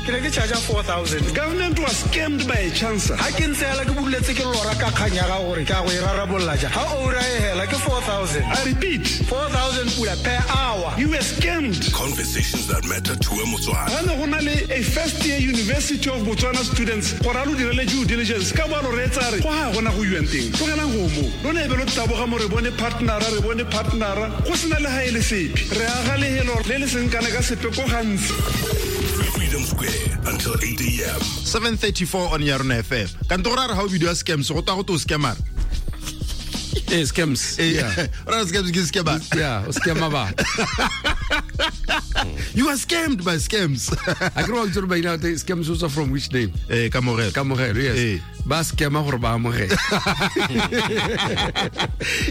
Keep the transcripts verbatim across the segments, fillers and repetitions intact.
Ke ne ke charge four thousand. Government was scammed by a chancer. Ha ke ntse hela ke buletse ke lora ka kgang ya gago gore ke a go e rarabolola jang. Ha ura e hela ke four thousand. I repeat, four thousand pula per hour. You were scammed. Conversations that matter to a Motswana. Ga ne go na le a first year University of Botswana students gore a lo direle due diligence ka bo a lo reetsa re go ga gona go iwang teng. Tlogelang go mo. Lona e be lo taboga mo re bone partnera, re bone partnera. Go sena le ha e le sepe. Re aga lehelo le le seng kana ka sepe ko gantsi. Freedom Square until eight a.m. seven thirty-four on Yarona F M. Kantora re ha o bidiwa scams, go twa go to scammer. Eh, scams. Eh, yeah. Ora scams ke scammer. Yeah, o scammer ba. You are scammed by scams. I grew up to by now the scams also from which name? Eh, Kamogelo. Kamogelo, yes. Eh. Ba scammer gore ba amogele.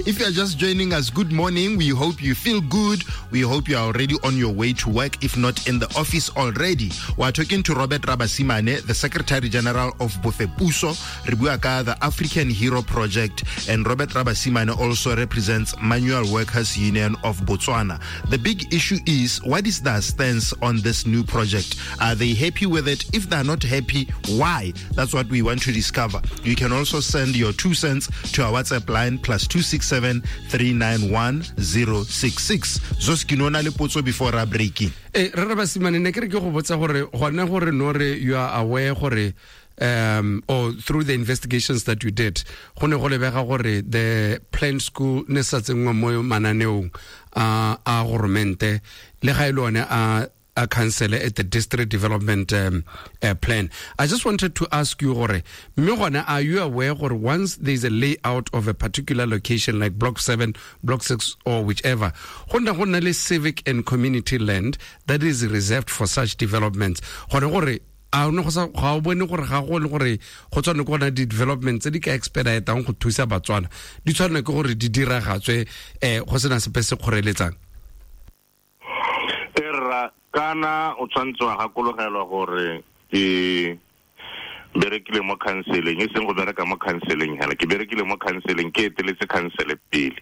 If you are just joining us, good morning. We hope you feel good. We hope you are already on your way to work, if not in the office already. We are talking to Robert Rabasimane, the Secretary General of Bofepuso, re bua ka the African Hero Project, and Robert Rabasimane also represents Manual Workers Union of Botswana. The big issue is, what is their stance on this new project? Are they happy with it? If they are not happy, why? That's what we want to discover. You can also send your two cents to our WhatsApp line plus two six seven three nine one zero six six. Zoskinona le potso before our breaking. Eh, Rabasimane, ne ke re ke go botsa gore gona gore no re you are aware gore um or through the investigations that you did, go ne go lebega gore the planned school ne sa tsenngwa mo mananeong a a goromente le ga ile one a a council at the district development um, uh, plan. I just wanted to ask you gore mme gone are you aware gore once there is a layout of a particular location like block seven, block six or whichever, go nna go na le civic and community land that is reserved for such developments, gone gore a no go sa ga o bone gore ga go le gore go tswane go na di developments tse di ka expeditang go thusa Batswana di tshwana ke gore di diragatswe eh go sena sepe se kgoreletsang? Erra kana o tshwantse wa gakologelwa gore ke berekile mo counseling, e seng go bereka mo counseling hela, ke berekile mo counseling, ke eteletse council pele.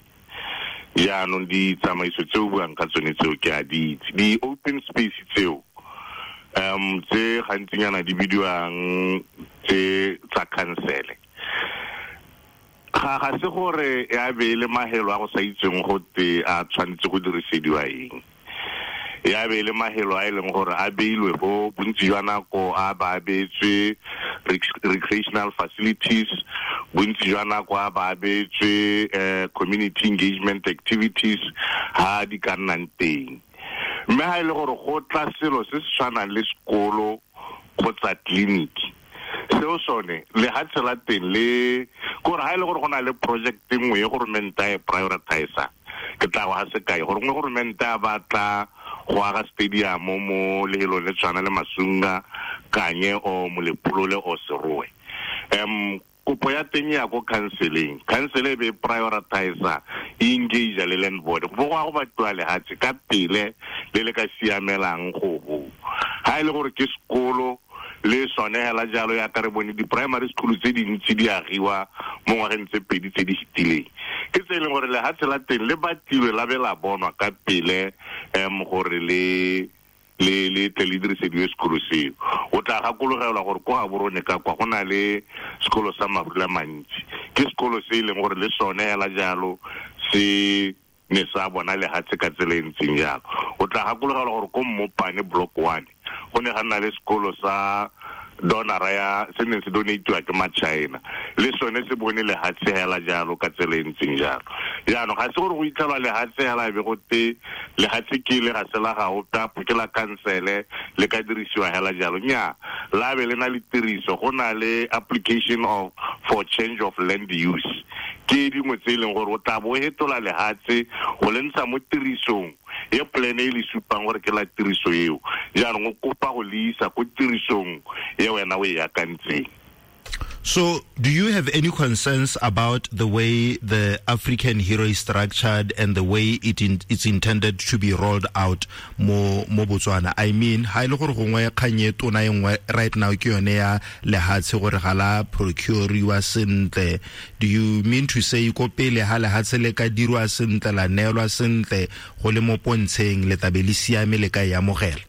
Jaanong ditsamaiso tse o buang ka tsone tseo ke a di itse. Di-open space tseo um tse gantsinyana di bidiwang tse tsa council, ga ga se gore ya be le mahelo a go sa itseng go te a tshwanetse go dirisediwa eng. Ya be le mahelo a e leng gore a beilwe bo bontsi jwa nako a ba abetswe recreational facilities, bontsi jwa nako a ba abetswe eh, community engagement activities ha di ka nnang teng. Mme ha e le gore go tla selo se se tshwanang le sekolo kgotsa tleliniki, seo sone lehatshe la teng le kore ha e le gore go na le project nngwe e goromente a e prioritize, ke tla go ga sekai gore nngwe goromente a batla go aga stadium mo lehelong le tshwana le Masunga, Kanye o Molepolole o Serowe. Um kopo ya teng ya ko counseling, council e be prioritize e engage le land board go go go batliwa lehatshe ka pele le le ka siamelang go bo. Ha e le gore ke sekolo le sone hela jalo ya ka re bone di-primary school tse dintsi di agiwa mo ngwageng tse pedi tse di fetileng, ke tse e leng gore lehatshe la teng le batlilwe la be la bonwa ka pele um gore le le le tle le dirisediwe sekolo seo. O tla gakologelwa gore ko Gaborone ka kwa go na le sekolo sa Marula Mantsi, ke sekolo se e leng gore le sone hela jalo se ne sa bona lehatshe ka tsela e ntseng jalo. O tla gakologelwa gore ko Mmopane block one go ne ga nna le sekolo sa donora ya se neng se donatiwa ke ma-China, le sone se bone lehatshe hela jalo ka tsela e ntseng jalo. Jaanong ga se gore go itlhelwa lehatshe hela e be go te lehatshe ke le ga se la gago tapo ke la kansele le ka dirisiwa hela jalo. Nnyaa, la be le na le tiriso, go na le application of for change of land use, ke dingwe tse e leng gore o tla bo hetola lehatshe go le ntsha mo tirisong e plan e le supang gore ke la tiriso eo, jaanong o kopa go le isa ko tirisong e wena o e akantseng. So, do you have any concerns about the way the African Hero is structured and the way it in, it's intended to be rolled out mo mo Botswana? I mean, ha ile gore gongwe kgang e tona e nngwe right now ke yone ya lehatshe gore ga la procure-iwa sentle. Do you mean to say ko pele ha lehatshe le ka dirwa sentle, la neelwa sentle, go le mo pontsheng le tabe le siame le ka e amogela?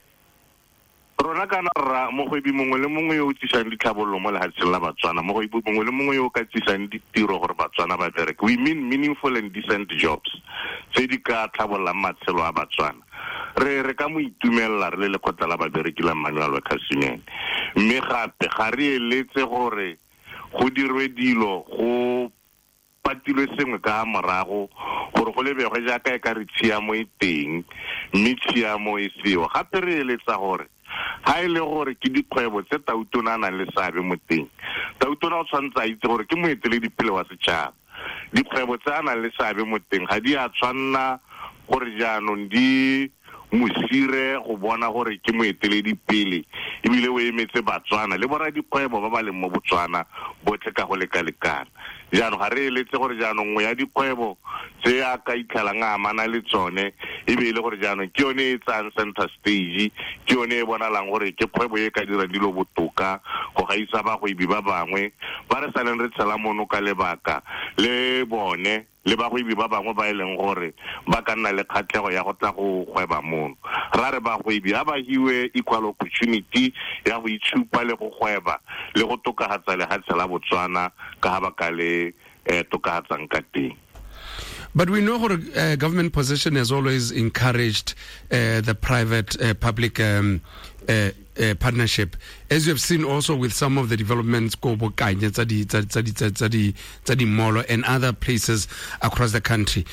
Rona kana rra mogwebi mongwe le mongwe yo o tsisang ditlhabololo mo lefatsheng la Batswana, mogwebi mongwe le mongwe yo o ka tsisang ditiro gore Batswana ba bereke. We mean meaningful and decent jobs tse di ka tlhabololang matshelo a Batswana. Re re ka mo itumelela re le lekgotla la babereki la Manual Workers Union. Mme gape ga re eletse gore go dirwe dilo go patilwe sengwe ka morago gore go lebegwe jaaka e ka re tshiamo e teng, mme tshiamo e seo. Gape re eletsa gore ha e le gore ke dikgwebo tse Tautona a nang le seabe mo teng, Tautona o tshwanetse a itse gore ke moeteledipele wa setšhaba. Dikgwebo tse a nang le seabe mo teng ga di a tshwanna gore jaanong di mosire go bona gore ke moeteledipele ebile o emetse Batswana le borra dikgwebo ba ba leng mo Botswana botlhe ka go lekalekana. Jaanong ga re eletse gore jaanong nngwe ya dikgwebo tse a ka itlhelang a amana le tsone e be e le gore jaanong ke yone e tsayang center stage, ke yone e bonalang gore ke kgwebo e ka dirang dilo botoka go gaisa bagwebi ba bangwe ba re saleng re tshela mono ka lebaka le bone le bagwebi ba bangwe ba e leng gore ba ka nna le kgatlhego ya go tla go gweba mono. Ra re bagwebi ha ba hiwe equal opportunity ya go itshupa le go gweba le go tokafatsa lefatshe la Botswana ka ha ba ka le eh, tokafatsang ka teng. But we know gore uh, government position has always encouraged uh, the private uh, public um, uh, uh, partnership, as you have seen also with some of the developments ko bo Kanye tsa di tsa di tsa di tsa di mall and other places across the country.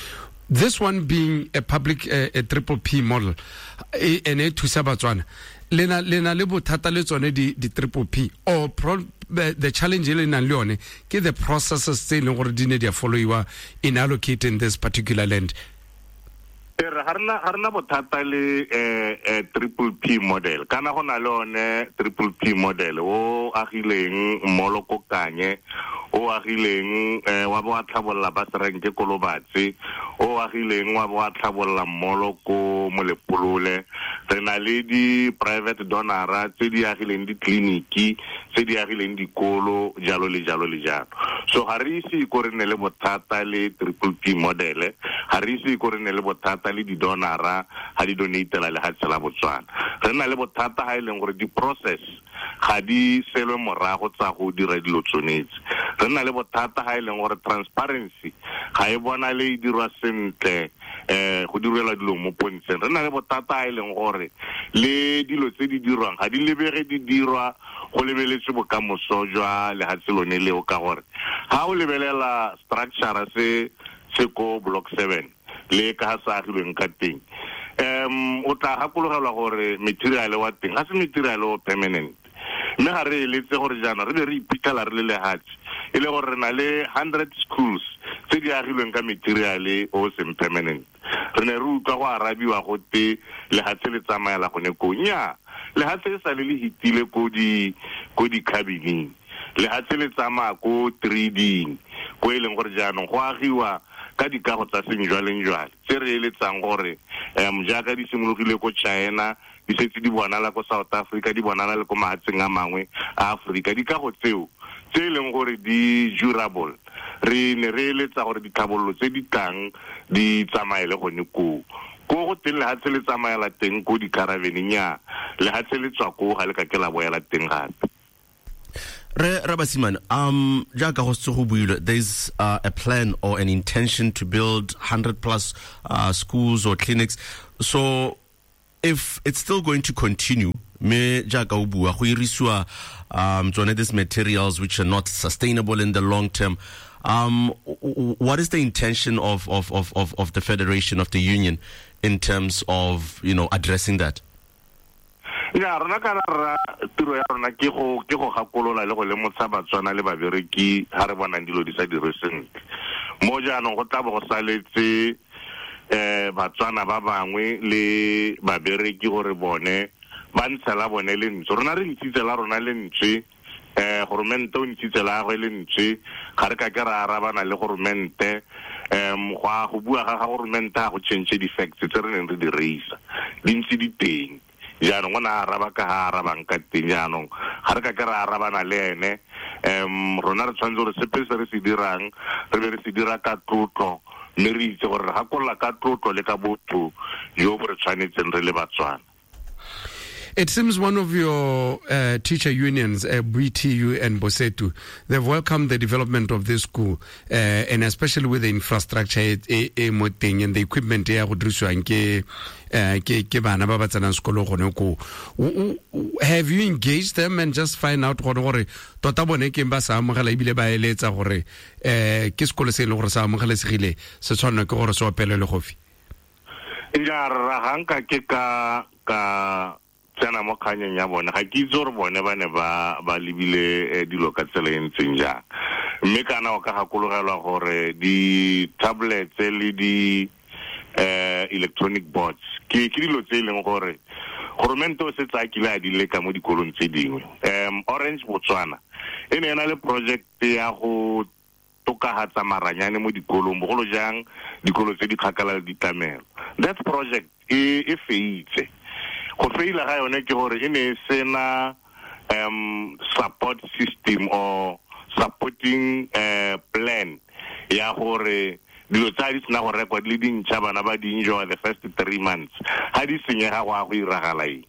This one being a public uh, a triple P model ene e thusa Batswana, lena lena le bothata le tsone di di triple P or pro, the, the challenge e le nang le yone ke the processes tse e leng gore di ne di a followiwa in allocating this particular land. Re ga rena ga rena bothata le eh, eh, triple P model. Kana go na le one triple P model o agileng molo ko Kanye, o agileng eh, wa bo a tlhabolola ba serenke ko Lobatse, o agileng wa bo a tlhabolola molo ko Molepolole. Re na le di private donora tse di agileng ditleliniki, tse di agileng dikolo, jalo le jalo le jalo. So ga re ise ko re nne le bothata le triple P model, ga re ise ko re nne le bothata le di-donora ga di donatela lefatshe la Botswana. Re na le bothata ga e leng gore di-process ga di selwe morago tsa go dira dilo tsonetse. Re na le bothata ga e leng gore transparency ga e bonale e dirwa sentle, eh go direlwa dilo mo pontsheng. Re na le bothata ga e leng gore le dilo tse di dirwang ga di lebege di dirwa go lebeletswe bokamoso jwa lefatshe lone leo, ka gore ga o lebelela structure se se ko block seven le ka ha sa agilweng ka teng, um o tla gakologelwa gore material wa teng ga se material o permanent. Mme ga re eletse gore jaana re be re iphitlhela re le lehatshe e le gore re na le hundred schools tse di agilweng ka material o seng permanent. Re ne re utlwa go arabiwa gote lehatshe le tsamaela gone koo. Nnyaa, lehatshe le sale le hitile ko di ko di-cabining, lehatshe le tsamaya ko trading, ko e leng gore jaanong go agiwa ka dikago tsa sejwalejwale tse re eletsang gore um jaaka di simologile ko China, di setse di bonala ko South Africa, di bonala le ko mafatsheng a mangwe a Afrika. Dikago tseo tse e leng gore di durable, re ne re eletsa gore ditlhabololo tse di tlang di tsamaele gone koo. Ko go teng lehatshe le tsamaela teng ko di-caravaneng, nnyaa, lehatshe le tswa koo ga le ka ke la boela teng gape. Re Rabasimane, um jaaka go setse go builwe, there's uh, a plan or an intention to build hundred plus uh, schools or clinics. So if it's still going to continue, me jaaka o bua go irisiwa um tsone these materials which are not sustainable in the long term, um what is the intention of of of of, of the federation, of the union, in terms of, you know, addressing that? Ya rona kana ra tiro ya rona ke go ke go gakolola le go lemotsha Batswana le babereki ha re bonang dilo di sa dire sentle. Mo jaanong go tla bo go saletse eh Batswana ba bangwe le babereki gore bone ba ntshela bone lentswe. Rona re ntshitse la rona lentswe, eh goromente o ntshitse la gagwe lentswe, ga re ka ke ra arabana le goromente. Um go a go bua ga ga goromente ga go change di-facts tse re neng re di reisa, di ntse di teng. Jaanong o ne a araba ka ha arabang ka teng. Jaanong ga re ka ke ra arabana le ene. Um rona re tshwanetse gore sepe se re se dirang re be re se dira ka tlotlo, mme re itse gore re gakolola ka tlotlo le ka botho jo bo re tshwanetseng re le Batswana. It seems one of your uh, teacher unions, uh, B T U and Bosetu, they've welcomed the development of this school, uh, and especially with the infrastructure e e mo teng and the equipment ya go dirisiwang ke ke ke bana ba ba tsenang sekolo gone ko. Have you engaged them and just find out gore gore tota bone ke ba sa amogela ebile ba eletsa gore eh ke sekolo se e leng gore sa amogelesegile se tshwanela ke gore se opelele gofi? Ja rra, ga nka ke ka ka tsena mo kganyeng ya bone, ga ke itse gore bone ba ne ba ba lebile dilo ka tsela e ntseng jang. Mme kana o ka gakologelwa gore di-tablets le di eh electronic boards ke ke dilo tse e leng gore goromente o setse a kile a di leka mo dikolong tse dingwe. Um Orange Botswana e ne e na le project ya go tokagatsa maranyane mo dikolong, bogolo jang dikolo tse di kgakala le ditlamelo. That project e e feitse. Go feila ga yone ke gore e ne e sena um support system or supporting uh, plan ya gore dilo tsa di sena go rekwa di le dintšha, bana ba di enjoy the first three months. Ha di senyega go a go iragala eng?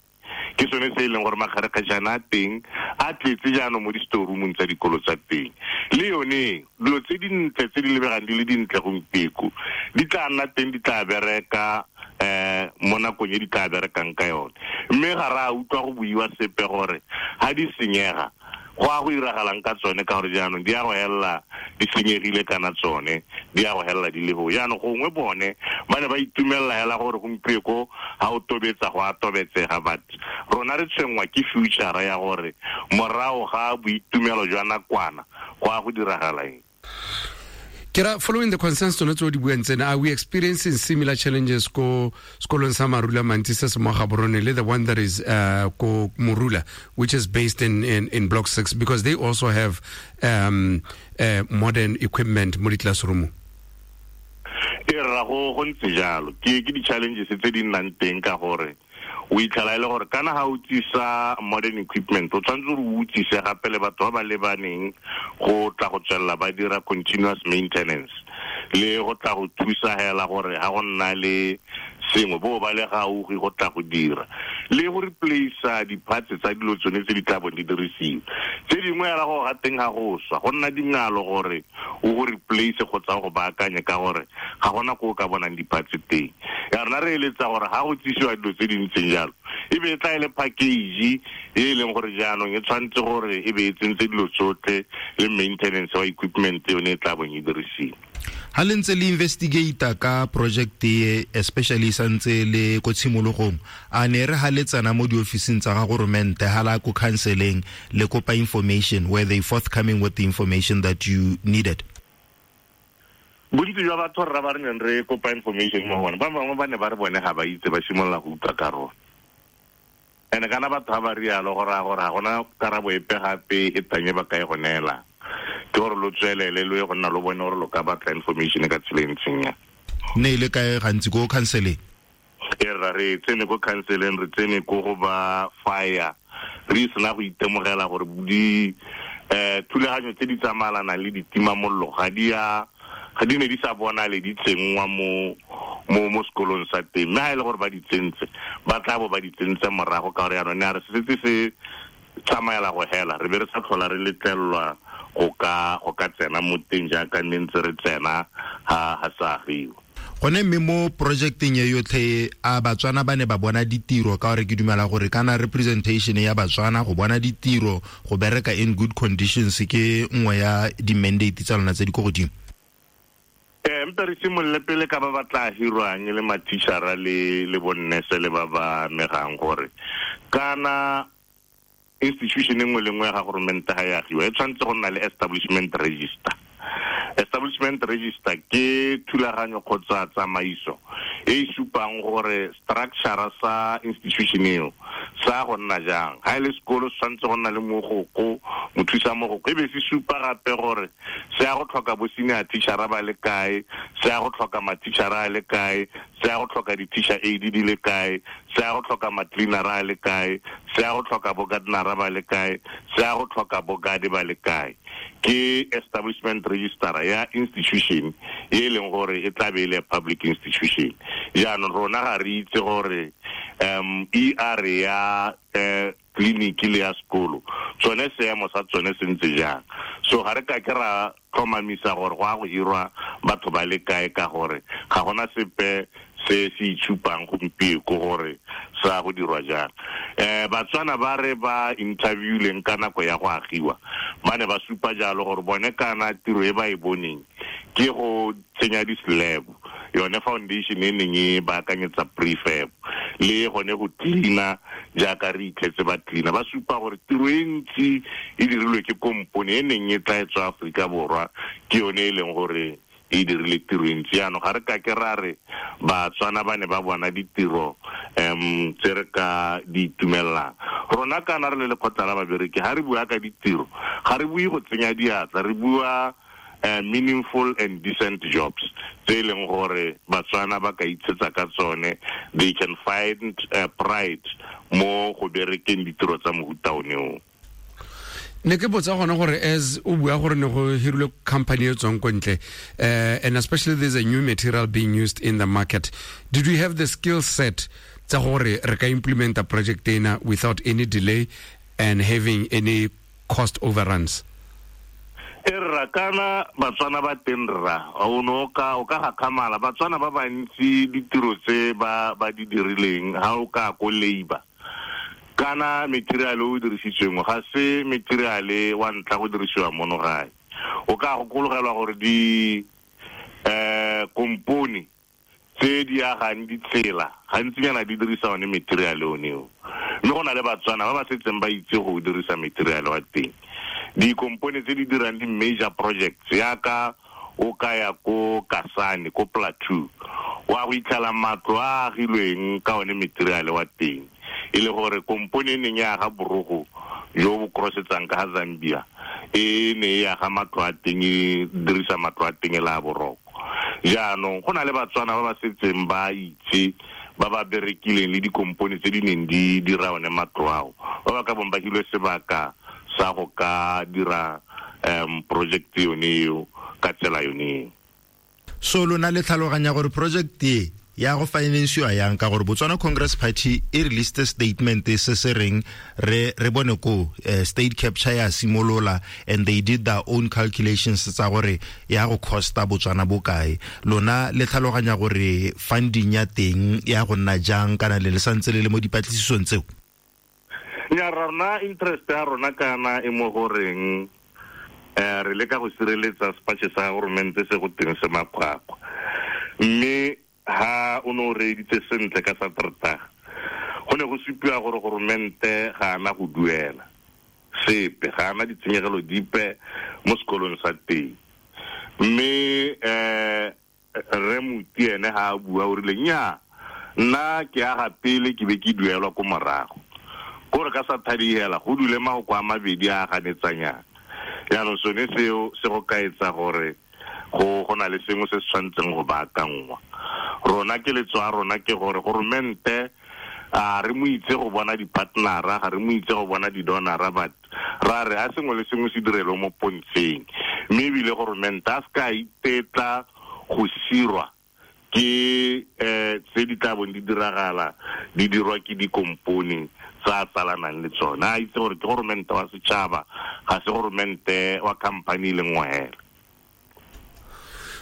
Ke sone se e leng gore makgarekgajana a teng a tletse jaanong mo di-storeroomong tsa dikolo tsa teng. Le yone dilo tse dintle tse di lebegang di le dintle gompieko di tla nna teng, di tla bereka eh mo nakong e di tla berekang ka yone. Mme ga re a utlwa go buiwa sepe gore ha di senyega go a go iragalang ka tsone, ka gore jaanong di a go hella di senyegile kana tsone di a go hella di le go. Jaanong gongwe bone ba ne ba itumelela hela gore gompieko ha o tobetsa go a tobetsega, but rona re tshwenngwa ke future ya gore morago ga boitumelo jwa nakwana go a go diragala eng. Kera, following the concerns tsone tse o di buang tsena, are we experiencing similar challenges ko sekolong sa Marula Mantsi se se mo Gaborone le the one that is uh, ko Morula, which is based in, in, in Block six, because they also have um, uh, modern equipment mo di-classroom? E rra, go go ntse jalo. Ke ke di-challenges tse di nnang teng ka gore o itlhela e le gore kana ga o tsisa modern equipment o tshwanetse gore o utsise gape le batho ba ba lebaneng go tla go tswelela ba dira continuous maintenance le go tla go thusa hela gore ga go nna le sengwe bo ba le gaufi go tla go dira le go replace di-parts tsa dilo tsone tse di tla bong di dirisiwa. Tse dingwe hela go ga teng ga go swa go nna dingalo gore o go replace kgotsa go baakanye ka gore ga gona ko o ka bonang di-parts teng. Ya rona re eletsa gore ga go tsisiwa dilo tse di ntseng jalo e be e tla e le package e leng gore jaanong e tshwanetse gore e be e tsentse dilo tsotlhe le maintenance wa equipment yone e tla bong e dirisiwa. Ha le ntse le investigate ka project e, especially santse le ko tshimologong, a ne re ha le tsena mo diofising tsa ga goromente ha la ko counseling le kopa information, were they forthcoming with the information that you needed? Bontsi jwa batho rra ba re neng re kopa information mo go bone, ba bangwe ba ne ba re bone ga ba itse, ba simolola go utlwa ka rona. Ene kana batho ga ba rialo go raya gore ga gona karabo epe gape e tanye ba ka e go neela. Ke gore lo tswelele lo ye go nna lo bone gore lo ka batla information ka tsela e ntseng yang. Ne ile kae gantsi ko counseling? E rra, re tsene ko counseling, re tsene ko go ba fire, re sena go itemogela gore di eh thulaganyo tse di tsamaelanang le ditimamollo ga di a ga di ne di sa bonale di tsenngwa mo mo mo sekolong sa teng. Mme ha e le gore ba di tsentse, ba tla bo ba di tsentse morago ka gore jaanong ne a re se setse se tsamaela go hela, re be re sa tlhola re letlelelwa go ka go ka tsena mo teng jaaka nne ntse re tsena ha ha sa agiwa. Gone mme mo projecteng e yotlhe a Batswana ba ne ba bona ditiro, ka gore ke dumela gore kana representation ya Batswana go bona ditiro go bereka in good conditions ke nngwe ya di-mandate tsa lona tse di ko godimo. Eh mpe re simolole pele ka ba ba tla hirwang le mathišara le le bonnese le ba ba amegang gore kana institution e nngwe le nngwe ga goromente ga e agiwa e tshwanetse go nna le establishment register. Establishment register ke thulaganyo kgotsa tsamaiso e e supang gore structure sa institution eo sa go nna jang. Ha e le sekolo se tshwanetse go nna le mogoko, mothusa mogoko, e be se supa gape gore se ya go tlhoka bo senior teacher ba le kae, se ya go tlhoka ma-teacher a le kae, se ya go tlhoka di-teacher aid di le kae, Se ya go tlhoka ma-cleanera a le kae, se ya go tlhoka bo gardenera ba le kae, se ya go tlhoka bo guard ba le kae. Ke establishment register ya institution e leng gore e tla be e le public institution. Jaanong rona ga re itse gore um E R ya eh clinic le ya sekolo tsone seemo sa tsone se ntse jang. So ga re ka ke ra tlhomamisa gore go a go hirwa batho ba le kae, ka gore ga gona sepe se se itshupang gompieno gore sa go dirwa jang. Eh Batswana ba re ba interviewleng ka nako ya go agiwa ba ne ba supa jalo gore bone kana tiro e ba e boneng ke go tsenya di-slab, yone foundation e neng e baakanyetsa prefab le gone go cleaner jaaka re itlhetse ba cleaner. Ba supa gore tiro e ntsi e dirilwe ke kompone e neng e tla e tswa Aforika Borwa, ke yone e leng gore e dirile tiro e ntsi. Jaanong ga re ka ke ra re Batswana ba ne ba bona ditiro um tse re ka di itumellang. Rona kana re le lekgotla la babereki ga re bua ka ditiro, ga re bue go tsenya diatla, re bua Uh, meaningful and decent jobs tse e leng gore Batswana ba ka itshetsa ka tsone, they can find uh, pride mo go berekeng ditiro tsa mohuta one o. Ne ke botsa gona gore as o bua gore ne go hirilwe company e tswang ko ntle, uh, and especially there's a new material being used in the market, did we have the skill set tsa gore re ka implement a project ena without any delay and having any cost overruns? E rra kana Batswana ba teng rra, o ne o ka o ka gakgamala Batswana ba bantsi ditiro tse ba ba di dirileng ha o ka ko labor kana material o dirisitsweng ga se material wa ntlha go dirisiwa mono gae. O ka gokologelwa gore di eh kompone tse di agang ditsela gantsinyana di dirisa one material one o, mme go na le Batswana ba ba setseng ba itse go dirisa material wa teng. Dikompone tse di dirang di-major projects yaka o ka ya ko Kasane ko Plateau wa go itlhela matlo a agilweng ka one material wa teng, e le gore kompone e neng ya aga borogo jo bo crossetsang ka ga Zambia e ne e aga matlo a teng, e dirisa matlo a teng e le a boroko. Jaanong go na le Batswana ba ba setseng ba itse ba ba berekileng le dikompone tse di neng di dira one matlo ao, ba ba ka bong ba hilwe sebaka sa go ka dira um project yone eo ka tsela yone. So lona le tlhaloganya gore project e ya go finansiwa yang, ka gore Botswana Congress Party e released a statement se se reng re re bone ko uh, state capture ya simolola, and they did their own calculations tsa gore ya go costa Botswana bokae. Lona le tlhaloganya gore funding ya teng ya go nna jang, kana le le santse le le mo dipatlisisong tseo? Nya rona interest ya rona kana e mo goreng eh re leka go sireletsa sepatšhe sa goromente se go teng se makgwakgwa, mme ha o ne o reeditse sentle ka Saterdag go ne go supiwa gore goromente ga ana go duela sepe, ga ana ditshenyegelo dipe mo sekolong sa teng. Mme eh re Muti ene ha a bua o rile nnyaa, nna ke aga pele ke be ke duelwa ko morago, kore ka sa thadihela go dule mahoko a mabedi a ganetsanyang. Jaanong sone seo se go kaetsa gore go go na le sengwe se se tshwanetseng go baakangwa. Rona ke letso a rona ke gore goromente a re mo itse go bona di-partnera, ga re mo itse go bona di-donora, but ra re a sengwe le sengwe se direlwe mo pontsheng, mme ebile goromente a se ka itetla go sirwa ke eh tse di tla bong di diragala di dirwa ke dikompone tsa tsalanang le tsone. A itse gore ke goromente wa setšhaba, ga se goromente wa company le nngwe hela.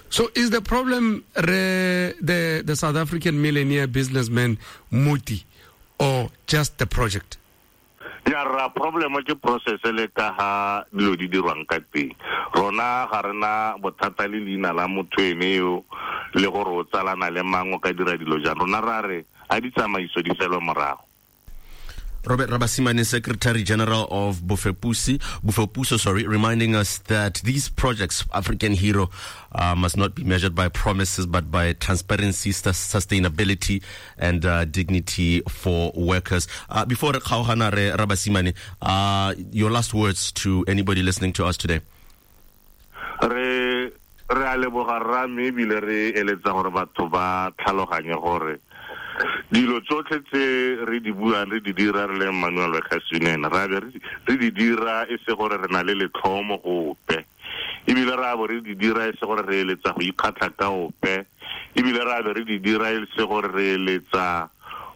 So is the problem re, the, the South African millionaire businessman Muti, or just the project? Ya ra problem ke process le ka ha dilo di dirwang ka teng. Rona ga rena bothata le leina la motho ene yo le gore o tsalana le mang o ka dira dilo jang. Rona ra re a di tsamaiso di selwe morago. Robert Rabasimane, Secretary General of Bofepusi, Bofepuso, sorry, reminding us that these projects, African Hero, uh, must not be measured by promises, but by transparency, sustainability, and uh, dignity for workers. Uh, before Kgaogana Rabasimane, uh, your last words to anybody listening to us today. Re re a leboga rra, mme ebile re eletsa gore batho ba tlhaloganye gore Dilo tsotlhe tse re di buang re di dira re le Manual Workers Union, ra be re di dira e se gore re na le letlhomo gope, ebile ra bo re di dira e se gore re eletsa go ikgatlha ka ope, ebile ra be re di dira e se gore re eletsa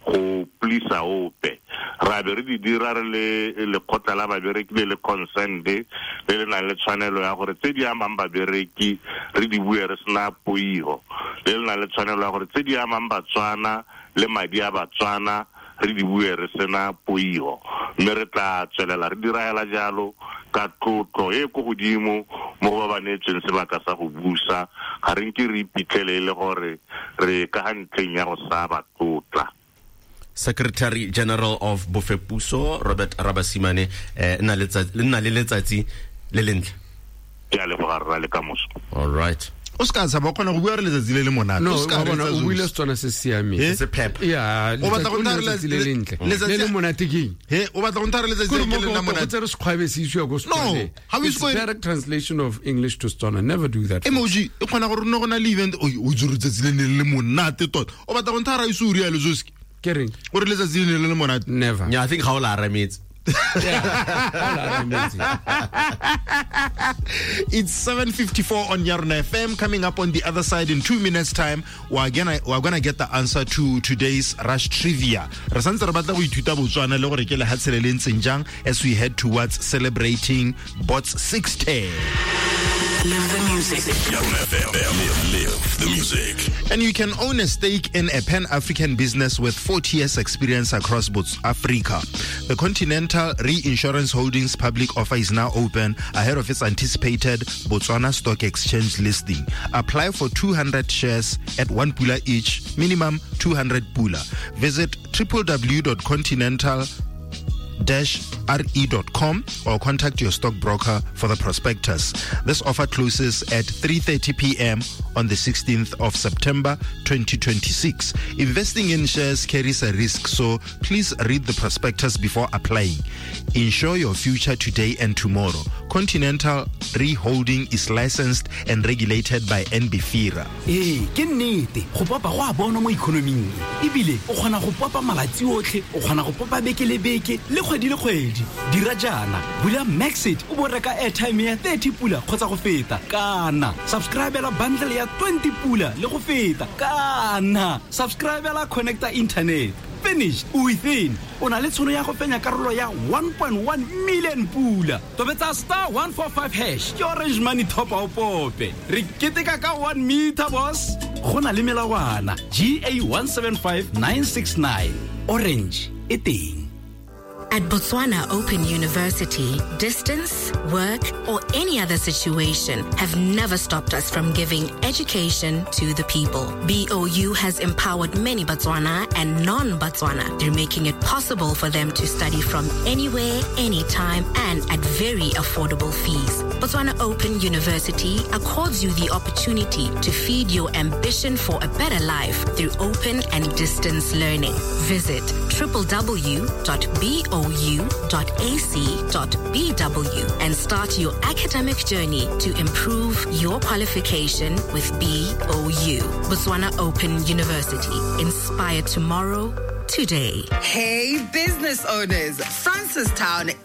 go pleasa ope. Ra be re di dira re le lekgotla la babereki le le concerned le le nang le tshwanelo ya gore tse di amang babereki re di bue re sena poiho, le le nang le tshwanelo ya gore tse di amang Batswana le madi a Batswana re di bue re sena poiho. Mme re tla tswelela re dira hela jalo ka tlotlo e ko godimo mo go ba ba neetsweng sebaka sa go busa. Ga re nke re iphitlhele e le gore re ka ga ntlheng ya go sa ba tlotla. Secretary General of Bofepuso Robert Rabasimane, eh nna le letsatsi le lentle. Ke a leboga rra le kamoso. All right. O ska tshaba o kgona go bua re letsatsi le le monate. No, o bona o buile Setswana se siameng. Se pep. Yeah, o batla go nna letsatsi le lentle. Le le monate ke eng? He, o batla go nna re letsatsi le le monate. Go tsere sekgwabe se isiwa ko Setswaneng. No, how is going? Direct translation of English to Setswana. Never do that. Emoji, e kgona gore nne go na le event o o tsere letsatsi le le monate tota. O batla go nna ra ise o rialo Zoski. Ke reng? O re letsatsi le le monate. Never. Yeah, I think ga o la arametse. It's seven fifty-four on Yarona F M. Coming up on the other side in two minutes time, we're gonna we're gonna get the answer to today's Rush Trivia. Re santse re batla go ithuta Botswana le gore ke lehatshe le le ntseng jang as we head towards celebrating Bots sixty. Live the music. Yarona F M. Live the music. And you can own a stake in a Pan-African business with forty years experience across both Africa. The Continental Reinsurance Holdings public offer is now open ahead of its anticipated Botswana Stock Exchange listing. Apply for two hundred shares at one pula each, minimum two hundred pula. Visit w w w dot continental dash r e dot com or contact your stockbroker for the prospectus. This offer closes at three thirty p m on the sixteenth of September twenty twenty-six. Investing in shares carries a risk, so please read the prospectus before applying. Insure your future today and tomorrow. Continental Re Holding is licensed and regulated by N B F I R A. Ee, ke nnete, go popa go a bona mo economing. Ebile o kgona go popa malatsi otlhe, o kgona go popa beke le beke le kgwedi le kgwedi. Dira jaana, bula Maxit o bo reka airtime ya thirty pula kgotsa go feta, kana subscribela bundle ya twenty pula le go feta, kana subscribela connector internet. Finished within o na le tshono ya go fenya karolo ya one point one million pula. Tobetsa star one four five hash ke Orange Money top up pope. Re keteka ka one meter boss. Go na le melawana G A one seven five nine six nine. Orange e teng. At Botswana Open University, distance, work, or any other situation have never stopped us from giving education to the people. B O U has empowered many Botswana and non-Botswana through making it possible for them to study from anywhere, anytime, and at very affordable fees. Botswana Open University accords you the opportunity to feed your ambition for a better life through open and distance learning. Visit w w w dot b o u dot a c dot b w and start your academic journey to improve your qualification with B O U. Botswana Open University. Inspire tomorrow, today. Hey, business owners. Francistown